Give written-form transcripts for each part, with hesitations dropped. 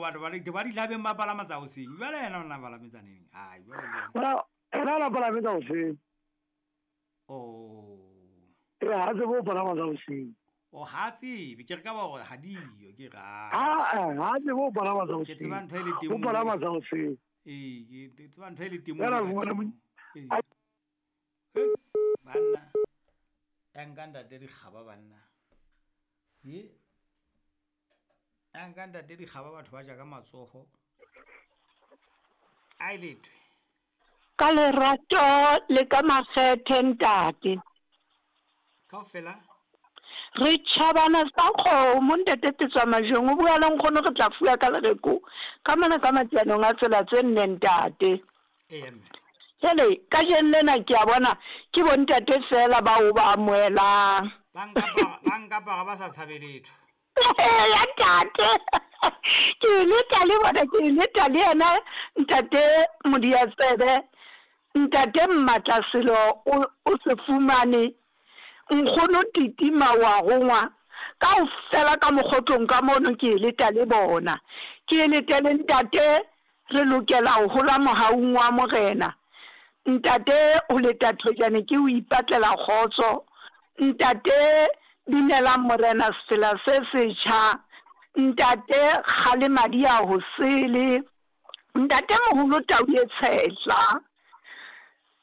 batho ba ba ditlhabeng ba palama tsa hoseng. Jwale yena o na palame tsa neng? Ai, jwale le yena. Ena ena na palame tsa hoseng. Oh. E ha tsebe ho palama tsa hoseng. O ha tsebe, ke re ka ba hore ha diyo, ke re Ha ha tsebe ho palama tsa Ke hoseng. tseba ntho e le teng Ho mono. palama tsa hoseng. Ee, ke tseba ntho e le teng Jwale mono bona ka mo- teng. Ee. Hei, banna. Ya nka ntate dikgaba banna. Ye. Ya nka ntate dikgaba batho ba ja ka matsoho. A e lethwe. Ka lerato le ka makgethe ntate. Kaofela. Re tjhabana sa kgomo ntate Petswa Majweng o bua le nkgono re tla fuwa ka lereko ka mona ka matsianong a tsela tse nne ntate. Ee mme. Jwale kajeno lena ke a bona ke bontate fela bao ba amohelang. Ba nkapara ba nkapara ba sa tshabe letho. Ya ntate. Ke leta le bona ke leta le yena ntate Modiatsebe. Ntate Mmatlaselo o se fumane. Nkgono Titima wa rongwa. Kaofela ka mokgotlong ka mono ke leta le bona. Ke lete le ntate re lokela ho hola mohaung wa morena. Ntate ho leta thojane ke o ipatlela kgotso. Ntate binelang morena sefela se setjha. Ntate kgalemadi ya ho sele. Ntate moholo tau e tshehla.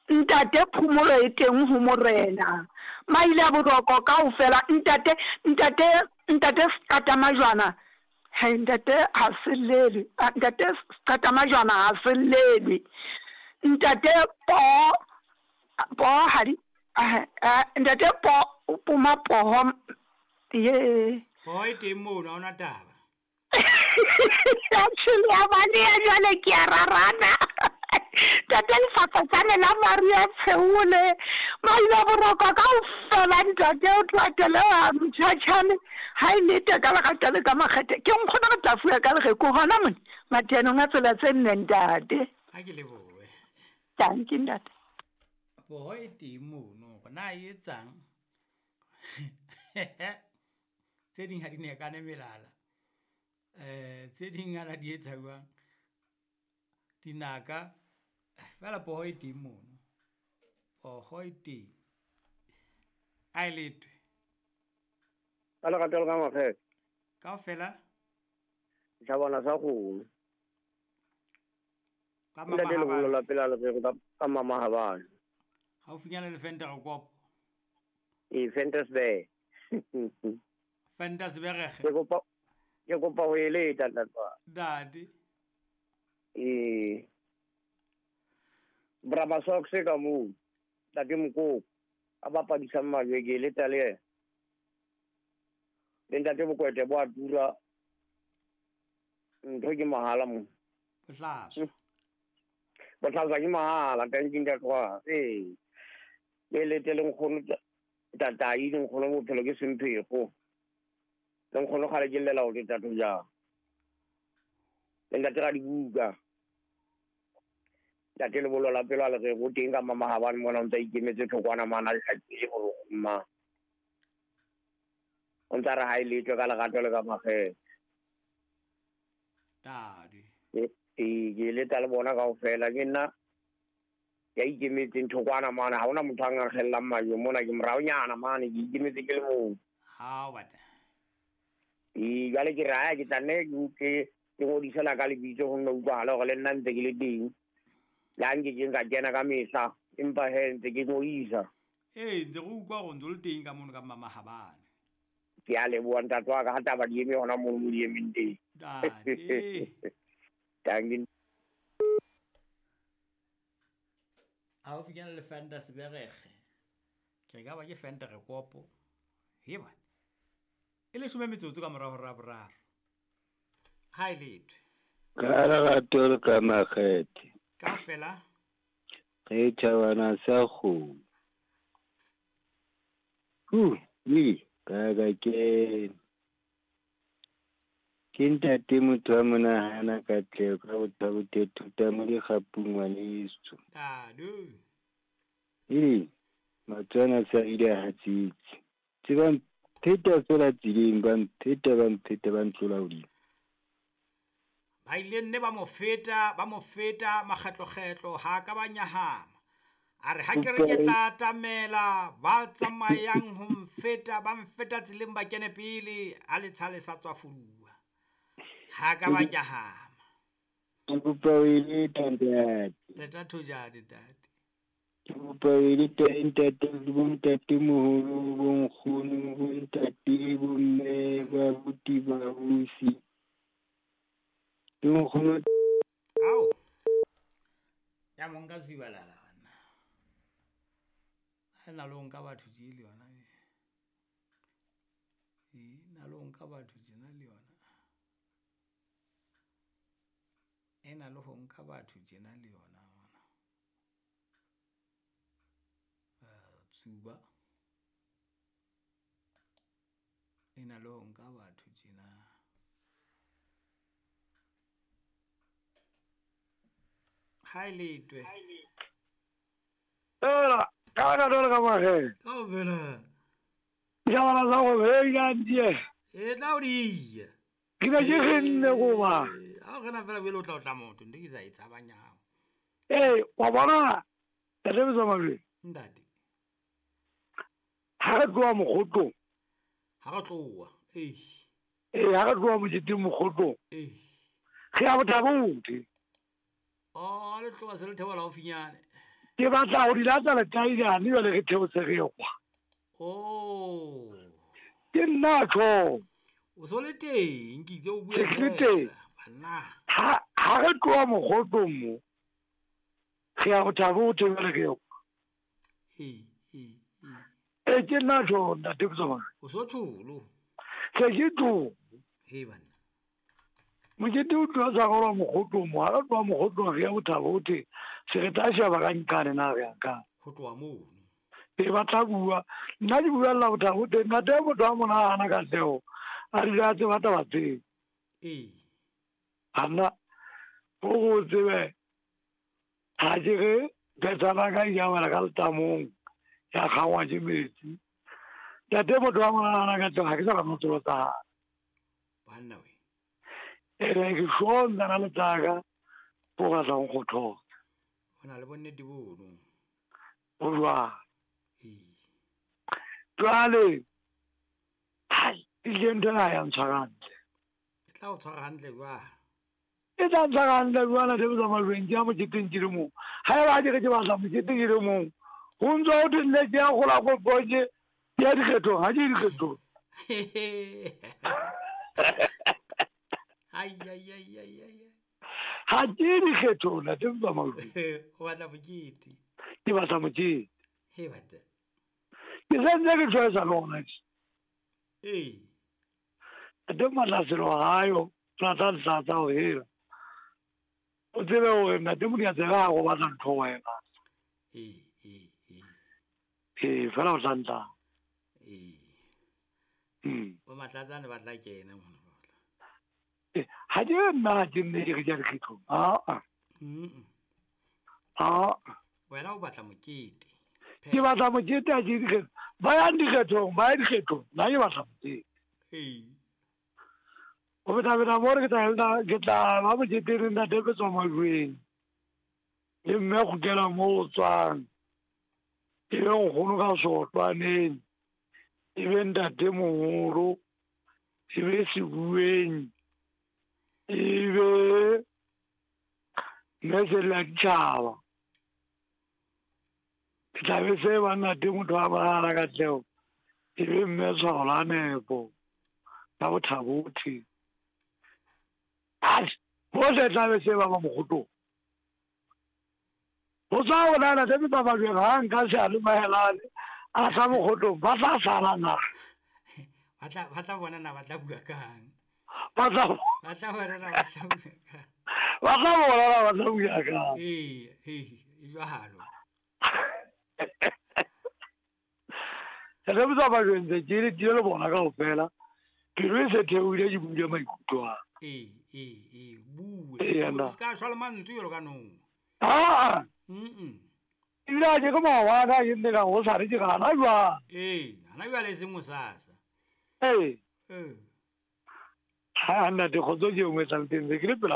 Ntate phomolo e teng ho morena. Maile a boroko kaofela ntate ntate ntate Seqatamajwana. He ntate ha se llelwe. Ntate Seqatamajwana ha se llelwe. Ntate po po ha di ntate po o poma poho ye. Poho e teng mono ha hona taba. Actually ya baleha jwale ke a rarana. Ntate lefafatsane la Maria Tsheole. Maile a boroko kaofela ntate o tlatele wa motjhatjhane. Ha e lete ka lerato le ka makgethe. Ke nkgono re tla fuwa ka lereko hona mona matenong a tsela tse nne ntate. Ha ke lebohe. Thank you ntate. Poho e teng mono hore na e etsang. Tse ding ha di nekane melala. Tse ding ana di etsa jwang? Dinaka fela poho e teng mono. Poho e teng. A e lethwe. Ka lerato le ka makgethe. Kaofela. Tjhabana sa kgomo. Ka Ntate lebollo la mama pela lereko ka mama Habane. Haufinyana le Fender Kopo. Ee, Ventersburg. Ventersburg. Ke kopa ho eleta ntate wa. Ntate. Ee. Braba Socks ka moo. Ntate Mokoko a bapadisang majwe ke eleta le yena. Le ntate Bokwete bo a tura. Ntho ke mahala mo. Bohlaswa. Bohlaswa ke mahala, thank you ntate wa. Ee. Ke elete le nkgono tatai le nkgono bophelo ke semphego. Le nkgono kgale ke llela hore tatho jang. Le ntate ra dibuka. Ntate lebollo la pelo a le re go teng ka mama Habane mona o ntse a ikemetse thokwana mana a hlakile hore mma. O ntse a re ha e letswe ka lerato le ka makgethe. Ntate. Ee, ke eleta le bona kaofela ke nna ya ikemetseng thokwana mane ha hona motho a nkgellang majwe mona ke moraonyana mane ke ikemetse ke le mong. Hao bata. Ee, jwale ke re haya ke tla nne ke ngodisela ka lebitso ho nne utlwahale hore le nna ntse ke le teng. Le ha nke ke nka kena ka mehla empa he ntse ke ngodisa. Ee, ntse re utlwa hore ntse o le teng ka mono ka mama Habane. Ke a leboha ntate wa ka ha taba di eme hona mono mo di emeng teng. Ntate. Thank you. Haufinyana le Ventersburg. Ke re ka ba ke Venterkopo. He bana. E leshome metsotso ka mora hora ya boraro. Ha e lethwe. Ka lerato le ka makgethe. Kaofela. Re tjhabana sa kgomo. Ka ka ke. Ke ntate motho wa monahana ka tleho ka botho bo thuta mo dikgapung ngwaneso. Ntate. Ee, Matswana sa ile a hatsitse. Tse ba mpheta fela tseleng, ba mpheta, ba mpheta, ba ntlola hodimo. Ba ile nne ba mo feta, ba mo feta makgetlokgetlo, ha ka ba nyahama. A re ha ke re ke tla atamela, ba tsamayang ho mfeta, ba mfeta tseleng ba kene pele, a letsha le sa tswa fuduwa. Ha ka ba nyahama. Ke kopa o e leta ntate. Leta thojane ntate. Ke kopa o e leta ntate le bontatemoholo, bonkgono, bontate, bomme, babuti, babusi. Le nkgono. Ao. Ya mo nka sibalala banna. Ha na lo nka batho tje le yona. E na lo nka batho tjena le yona. E na le ho nka batho tjena le yona ona. Tsuba. E na le ho nka batho tjena. Ha e letwe. Ela, ka ka dole ka mahe. Kaofela. Ja bana za go be ya ntie. E tla o di. Ke be ke genne go ba. Ha o gena fela bele o tla o tla motho, nte ke sa e tshabang ya hao. Eh, wa bona. Tate Motsamai. Ntate. Ha re tloha mokgotong. Ha re tloha. Eh. Eh, ha re tloha moketeng mokgotong. Eh. Re ya Bothabothe. Oh, le tloha se le theola haufinyane. Ke batla ho di latsa letailane jwale re theose re kwa. Oh. Ke nna tjho. O so le teng, ke itse o bue Ke le teng. Banna. Ha re tloha mokgotong mo. Re ya Bothabothe jwale re kwa. Eh, eh, eh. E ke nna tjho ntate Motsamai. O so tsholo. Se ke tlo. He banna. Mokete o tloha sa gorwa mokgotong mo, ha re tloha mokgotong re ya Bothabothe, se re tla sheba ka nkane na re ya ka. Ho tloha mono. E ba tla bua, nna ke buella Bothabothe, ntate motho a monahana ka tseo, a rile a tseba taba tseo. Ee. Anna, o go tsebe, ha ke re phethana ka ya wela ka letamong, ya kgangwa ke metsi. Ntate motho a monahana ka tseo, ha ke sa ba tsolo tsa hae. Banna we. Ere ke shonda na le tsaka go batla go kgothosa. O na le bonnete bono. O jwang? Ee. Jwale, hai, ile ntho ena ya ntshwara hantle. E tla o tshwara hantle jwang? E tla ntshwara hantle jwang ntate Motsamai, ke ya moketeng ke le mong. Ha eba ke re ke batla moketeng ke le mong, ho ntso ho thwe nne ke ya gola ko ke ya dikgethong, ha ke dikgethong. Ai ai ai ai ai. Ha ke dikgethong ntate Motsamai. O batla mokete. Ke batla mokete. He batla. Ke sentse ke tshwaetsa le ona. Ee. Ntate Matlaselo hayo, tlatsa tlatsa ho hela. O tsebe hore ntate Modiantsebe ha go batla ntho wena. Ee, ee, ee. Ee, fela o tla ntla. Ee. Bo Matlatsane ba tla kena mona. Ha ke nna ke nne ke re ke ya dikgethong. Aa. Aa. Wena o batla mokete. Ke batla mokete ha ke dikgethong. Ba yang dikgethong, ba ya dikgethong. Nna ke batla mokete. Ee. O beta mo re ke tla ba moketeng re ntate ke tswa majweng. Le mme kgutlela mo o tswang. E be nkgono ka sotlwaneng. E be ntate moholo. E be sebueng. Ebe mme sella ditjhaba. Ke tla be se ba ntate motho a bala ka tleo. E be mme tshwao la nepo. Ba Bothabothe. Ai, bohle tla be se ba ba mokgotong. Ho tswa ho nana tse ba ba jwang ha nka se a le mahelane a tla mokgotong ba tla sala na. Ba tla bona na ba tla bua kang. Ba tla bona na ba tla bua kang. Ba tla bona na ba tla bua kang. Ee, ee, e jwalo. Re botsa ba jwentse ke le tile le bona kaofela. Pelo e se theohile ke buile maikutlo a. Ee, ee, ee, bue. Ee, O ska shwa le mantswe jwalo ka nong. Aa. Ebile ha ke maobane ke nne ka go sa re ke gana jwang. Ee, hana jwale e seng hosasa. Ee. Ee. Ha ntate kgotso ke engwe e tlang teng, ke le pela